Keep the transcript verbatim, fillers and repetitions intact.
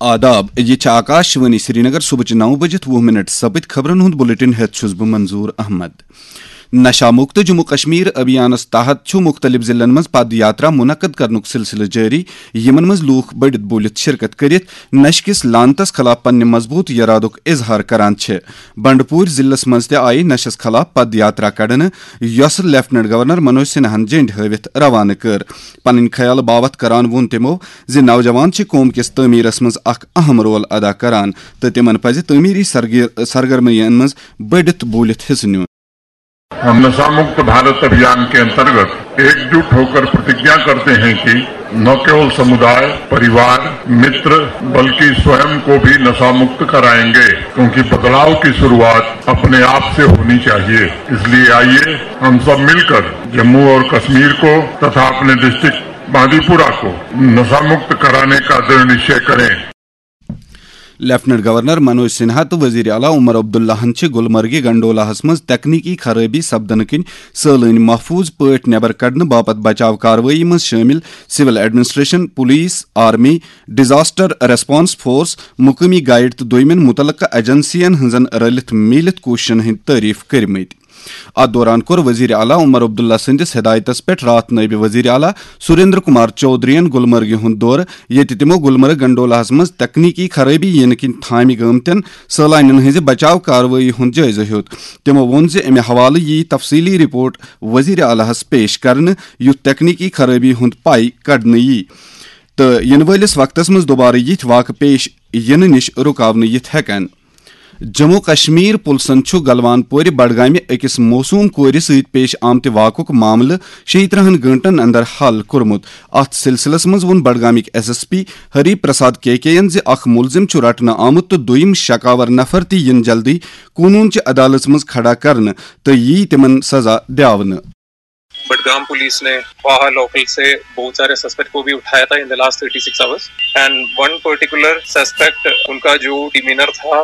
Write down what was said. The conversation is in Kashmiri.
آداب، یہِ چھِ آکاش وانی سرینگر۔ صبحٕچہِ نَو بجِتھ وُہ منٹ سپٕدۍ۔ خبرن ہُنٛد بلیٹن ہٮ۪تھ چھُس بہٕ منظور احمد۔ نشہ مکت جموں کشمیر ابھیانس تحت چھُ مُختٔلِف ضلعن منٛز پد یاترا منعقد کرنُک سلسلہٕ جٲری، یِمن منٛز لوٗکھ بٔڑِتھ بوٗلِتھ شرکت کٔرِتھ نشہِ کِس لعنتس خلاف پننہِ مضبوٗط یرادُک اظہار کران چھِ۔ بنڈپوٗر ضلعس منٛز تہِ آیہِ نشس خلاف پد یاترا کڑنہٕ، یۄسہٕ لیفٹیننٹ گورنر منوج سنہاہن جنڈ ہٲوِتھ روانہٕ کٔر۔ پنٕنۍ خیال باوتھ کران ووٚن تِمو زِ نوجوان چھِ قوم کِس تعمیرس منٛز اکھ اہم رول ادا کران تہٕ تِمن پزِ تعمیری سرگی-، سرگرمیَن منٛز بٔڑِتھ بوٗلِتھ حصہٕ نیُن۔ हम नशा मुक्त भारत अभियान के अंतर्गत एकजुट होकर प्रतिज्ञा करते हैं कि न केवल समुदाय, परिवार, मित्र, बल्कि स्वयं को भी नशा मुक्त कराएंगे, क्योंकि बदलाव की शुरुआत अपने आप से होनी चाहिए। इसलिए आइए, हम सब मिलकर जम्मू और कश्मीर को तथा अपने डिस्ट्रिक्ट बांदीपुरा को नशा मुक्त कराने का दृढ़ निश्चय करें। لیفٹیننٹ گورنر منوج سنہا تہٕ وزیر اعلیٰ عمر عبداللہَن چھِ گلمرگہِ گنڈولاہَس منٛز تکنیکی خرٲبی سپدنہٕ کِنۍ سٲلٲنۍ محفوظ پٲٹھۍ نٮ۪بر کڑنہٕ باپتھ بچاو کاروٲیی منٛز شٲمِل civil administration, police, army, disaster response force, مقٲمی گائیڈ تہٕ دویمٮ۪ن متعلقہٕ ایجنسین ہٕنٛزن رلِتھ میٖلِتھ کوٗششن ہٕنٛدۍ تعریف کٔرمٕتۍ۔ اتھ دوران کوٚر وزیر اعلیٰ عمر عبداللہ سٕنٛدِس ہدایتس پٮ۪ٹھ راتھ نٲیِب وزیر اعلیٰ سریندر کمار چودھرین گلمرگہِ ہُنٛد دورٕ، ییٚتہِ تِمو گلمرگ گنڈولاہَس منٛز تکنیکی خرٲبی یِنہٕ کِنۍ تھامہِ گٲمتٮ۪ن سٲلانٮ۪ن ہٕنٛزِ بچاو کاروٲیی ہُنٛد جٲیزٕ ہیوٚت۔ تِمو ووٚن زِ امہِ حوالہٕ یِیہِ تفصیلی رپورٹ وزیر اعلیٰ ہَس پیش کرنہٕ، یُتھ تکنیکی خرٲبی ہُنٛد پاے کڑنہٕ یِیہِ تہٕ یِنہٕ وٲلِس وقتس منٛز دوبارٕ یِتھۍ واقعہٕ پیش یِنہٕ نِش رُکاونہٕ یِتھ ہٮ۪کن۔ جموں کشمیر پُلسن چھُ گلوان پورِ بڈگامہِ أکِس معصوم کورِ سۭتۍ پیش آمتہِ واقعُک معاملہٕ شیٚیہِ ترٕٛہن گٲنٛٹن اندر حل کوٚرمُت۔ اتھ سلسلس منٛز ووٚن بڈگامٕکۍ S S P Hari Prasad K K یَن زِ اکھ مُلزِم چھُ رٹنہٕ آمُت تہٕ دوٚیِم شکاور نفر تہِ یِن جلدی قونوٗن چہِ عدالژ منٛز کھڑا کرنہٕ تہٕ یِیہِ تِمن سزا دِیاونہٕ۔ बडगाम पुलिस ने वाहा लोकल से बहुत सारे सस्पेक्ट को भी उठाया था in the last thirty six hours, and one particular suspect, उनका जो डिमीनर था,